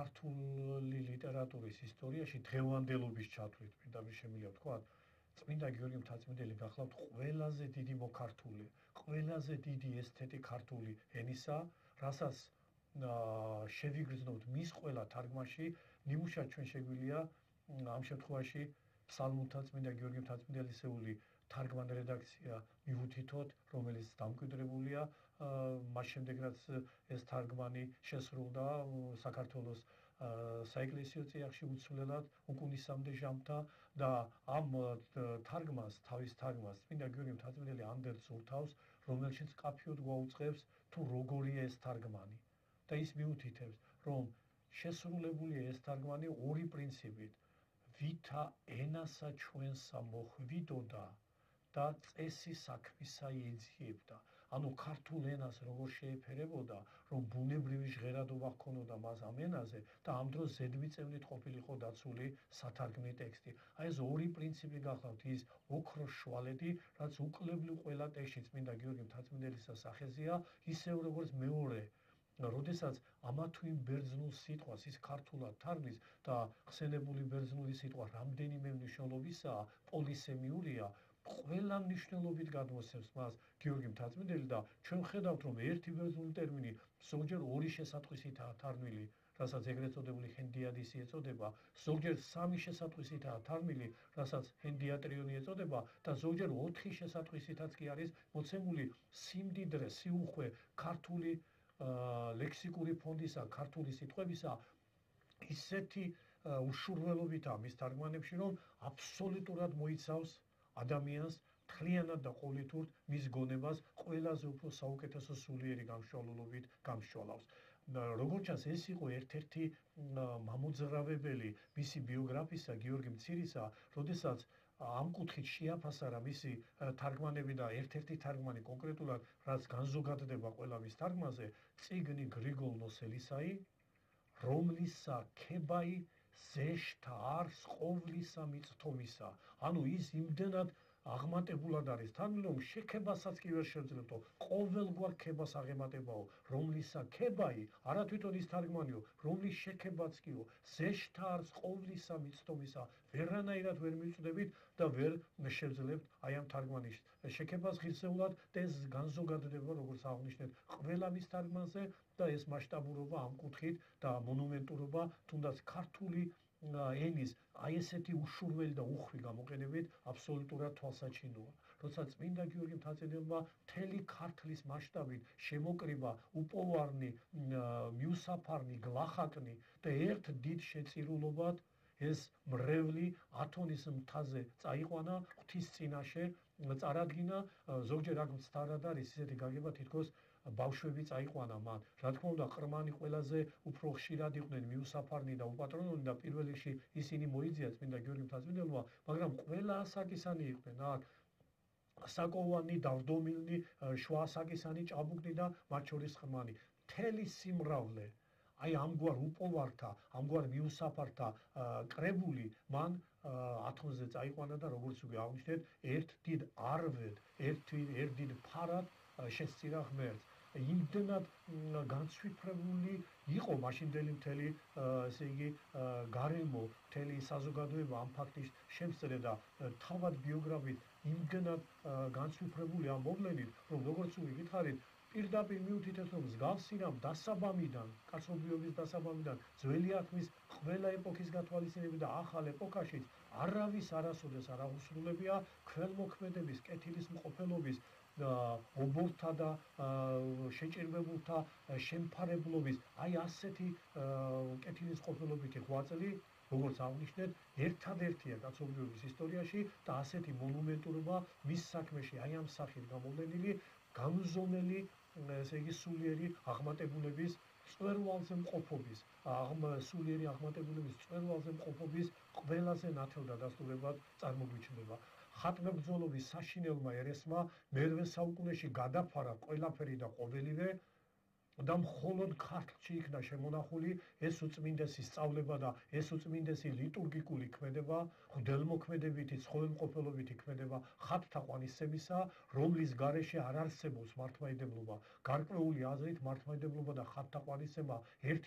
ქართული ლიტერატურის ისტორიაში დღევანდელობის ჩათვლით პირდაპირ შემიძლია ვთქვა, წმინდა გიორგი მთაწმიდელი გახლავთ ყველაზე დიდი მოქართული, ყველაზე დიდი ესთეტი ქართული ენისა, რასაც შევიგრძნობთ მის ყველა თარგმანში, ნიმუშად ჩვენ შეგვიძლია ამ შემთხვევაში ფსალმუნთა წმინდა გიორგი მთაწმიდელისეული თარგმან რედაქცია მივუთითოთ, რომელიც დამკვიდრებულია მას შემდეგ რაც ეს თარგმანი შესრულდა საქართველოს საეკლესიო წიაღში უცვლელად უკუნისამდე ჟამთა და ამ თარგმანს თავის თარგმანს წმინდა გიორგი მთაწმიდელი ანდერძ ურთავს, რომელშიც მკაფიოდ გვაუწყებს თუ როგორია ეს თარგმანი და ის მიუთითებს, რომ შესრულებულია ეს თარგმანი ორი პრინციპით, ვითა ენასა ჩვენსა მოხვიდოდა და წესი საქმისა ეძიებდა. ანუ ქართულ ენას როგორ შეეფერებოდა, რომ ბუნებრივი ჟღერადობა ჰქონოდა მას ამ ენაზე და ამ დროს ზედმიწევნით ყოფილიყო დაცული სათარგმნი ტექსტი. აი ეს ორი პრინციპი გახლავთ, ის ოქროს შვალეთი, რაც უკლებლივ ყველა ტექსტში წმინდა გიორგი მთაწმიდელისა სახეზეა, ისევ როგორც მეორე როდესაც ამა თუ იმ ბერძნულ სიტყვას ის ქართულად თარგმნის და ხსენებული ბერძნული სიტყვა რამდენიმე მნიშვნელობისაა, პოლისემიურია, ყველა მნიშვნელობით გადმოსცემს მას გიორგი მთაწმიდელი და ჩვენ ხედავთ, რომ ერთი ბერძნული ტერმინი ზოგჯერ ორი შესატყვისითაა თარგმნილი, რასაც ეგრეთ წოდებული ჰენდიადისი ეწოდება, ზოგჯერ სამი შესატყვისითაა თარგმნილი, რასაც ჰენდიატრიონი ეწოდება და ზოგჯერ 4 შესატყვისითაც კი არის მოცემული სიმდიდრე, სიუხვე ქართული ლექსიკური ფონდისა, ქართული სიტყვებისა ისეთი უშურველობითაა მის თარგმანებში, რომ აბსოლუტურად მოიცავს ადამიანს მთლიანად და ყოვლითურთ მის გონებას ყველაზე უფრო საუკეთესო სულიერი გამშვალულობით გამშვალავს. როგორც ჩანს, ეს იყო ერთ-ერთი მამოძრავებელი მისი ბიოგრაფისა გიორგი მცირისა, როდესაც ამ კუთხით შეაფასა მისი თარგმანები და ერთ-ერთი თარგმანი კონკრეტულად რაც განზოგადდება ყველა მის თარგმანზე, წიგნი გრიგოლ ნოსელისაი, რომლისა ქებაი ზეშთა არს ყოვლისა მიწთომისა. ანუ ის იმდენად აღმატებულად არის თარგმნილი, რომ შექებასაც კი ვერ შეძლებდო, ყოველგვარ ქებას აღემატებაო, რომლისა ქებაი, არა თვითონ ის თარგმანიო, რომლის შექებაც კიო, ზეშთა არს ყოვლისა მიწთომისა, ვერანაირად ვერ მივწდებით და ვერ შევძლებთ აი ამ თარგმანის შექებას ღირსეულად და ეს განზოგადდება, როგორც აღნიშნეთ, ყველა მის თარგმანზე და ეს მასშტაბურობა ამ კუთხით და მონუმენტურობა თუნდაც ქართული ენის აი ესეთი უშურველი და უხვი გამოყენებით აბსოლუტურად თვალსაჩინოა. როცა წმინდა გიორგი მთაწმიდელმა მთელი ქართლის მასშტაბით შემოკრიბა უპოვარნი, მიუსაფარნი, გლახაკნი და ერთ დიდ შეწირულობად ეს მრევლი ათონის მთაზე წაიყვანა, ღვთის წინაშე წარადგინა, ზოგჯერ აქ მცდარად არის ისეთი გაგება, თითქოს ბავშვები წაიყვანა მან. რა თქმა უნდა, ყრმანი ყველაზე უფრო ხშირად იყვნენ მიუსაფარნი და უპატრონონი და პირველ რიგში ისინი მოიძია წმინდა გიორგი მთაწმიდელმა, მაგრამ ყველა ასაკისანი იყვნენ. აქ საკოვანი, დავდომილნი, შუა ასაკისანი, ჭაბუკნი და მათ შორის ყრმანი. მთელი სიმრავლე აი ამგვარ უპოვართა, ამგვარ მიუსაფართა კრებული მან ათონზე წაიყვანა და როგორც უკვე აღნიშნეთ, ერთ დიდ არვედ, ერთ დიდ ფარად შესწირა ღმერთს. იმდენად განცვიფრებული იყო მაშინდელი მთელი ესე იგი გარემო, მთელი საზოგადოება ამ ფაქტის შემსწრე და თავად ბიოგრაფით იმდენად განცვიფრებული ამ მოვლენით, რომ როგორც უკვე გითხარით, პირდაპირ მიუთითებს, რომ მსგავსი რამ დასაბამიდან, კაცობრიობის დასაბამიდან, ძველი აქმის ყველა ეპოქის გათვალისწინებით და ახალ ეპოქაშიც არავის არასოდეს არ აღუსრულებია ქველმოქმედების, კეთილის მყოფელობის, ობორთა და შეჭირებულთა შემფარებლობის, აი ასეთი კეთილის მყოფელობითი ღვაწლი, როგორც აღნიშნეთ, ერთადერთია კაცობრიობის ისტორიაში და ასეთი მონუმენტურობა მის საქმეში აი ამ სახით გამოვლენილი, გამზომელი, ესე იგი სულიერი აღმატებულების წვერვალზე მყოფობის, სულიერი აღმატებულების წვერვალზე მყოფობის ყველაზე ნათელ დადასტურებად წარმოგვიჩნდება. ხატმებრძოლობის საშინელმა ერესმა მერვე საუკუნეში გადაფარა ყველაფერი და ყოველივე და მხოლოდ ქართლში იქნა შემონახული ეს უწმინდესი სწავლება და ეს უწმინდესი ლიტურგიკული ქმედება, ღვთელმოქმედებითი, ცხოველმყოფელობითი ქმედება ხატთა ყვანისცემისა, რომლის გარეშე არ არსებობს მართლმადიდებლობა. გარკვეული აზრით მართლმადიდებლობა და ხატთა ყვანისცემა ერთი